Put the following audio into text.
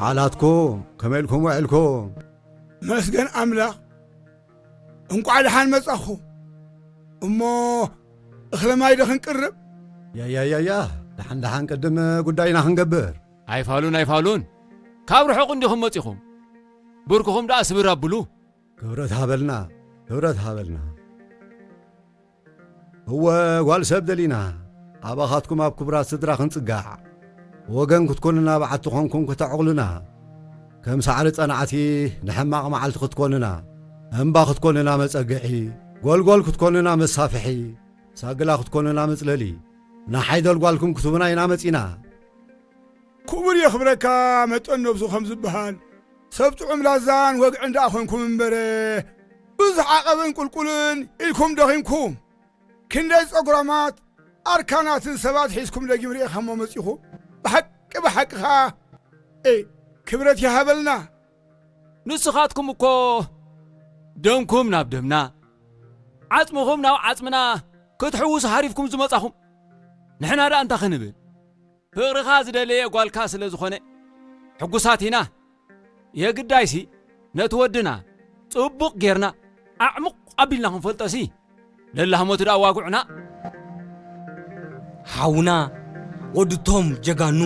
ሓላትኩም ከመይ ኢልኩም ውዕልኩም? መስገን ኣምላኽ፣ እንቋዕ ደሓን መጻኹም። እሞ እኽለ ማይ ዶ ክንቅርብ? ያያያያ፣ ደሓን ደሓን ቅድም ጉዳይና ክንገብር። ኣይፋሉን ኣይፋሉን፣ ካብ ርሑቕ እንዲኹም መጺኹም። ብርክኹም ደኣ ስብር ኣብሉ። ክብረት ሃበልና፣ ክብረት ሃበልና። እወ፣ ጓል ሰብ ደሊና፣ ኣባኻትኩም ኣብ ክቡራት ስድራ ክንጽጋዕ፣ ወገን ክትኮኑና፣ በዓቲ ኾንኩም ከተዕቑሉና፣ ከም ሳዕሪ ጸናዕቲ ንሕማቕ መዓልቲ ክትኮኑና፣ እምባ ክትኮኑና መጸግዒ፣ ጎልጎል ክትኮኑና መሳፍሒ፣ ሳግላ ክትኮኑና መጽለሊ፣ ንሓይደል ጓልኩም ክትቡና ኢና መጺና። ክቡር የኽብረካ መጠን ነብሱ ከም ዝበሃል፣ ሰብ ጥዑም ላዛን ወግዕን ደኣ ኾንኩም እምበረ፣ ብዙሕ ዓቐብን ቁልቁልን ኢልኩም ደኺምኩም። ክንደይ ጸጉራማት ኣርካናትን ሰባት ሒዝኩም ደጊም ርኢኻሞ መጺኹም። ብሓቂ ብሓቂ ኸኣ፣ ኤ፣ ክብረት ይሃበልና። ንስኻትኩም እኮ ደምኩም ናብ ደምና፣ ዓጽምኹም ናብ ዓጽምና ክትሕውሱ ሃሪፍኩም ዝመጻኹም፣ ንሕና ደኣ እንታይ ክንብል? ፍቕርኻ ዝደለየ ጓልካ ስለ ዝኾነ ሕጉሳት ኢና። የግዳይሲ ነቲ ወድና ጽቡቕ ጌርና ኣዕሙቕ ኣቢልና ክንፈልጦሲ፣ ለላህሞቱ ደኣ ዋግዑና። ሓውና ወድቶም ጀጋኑ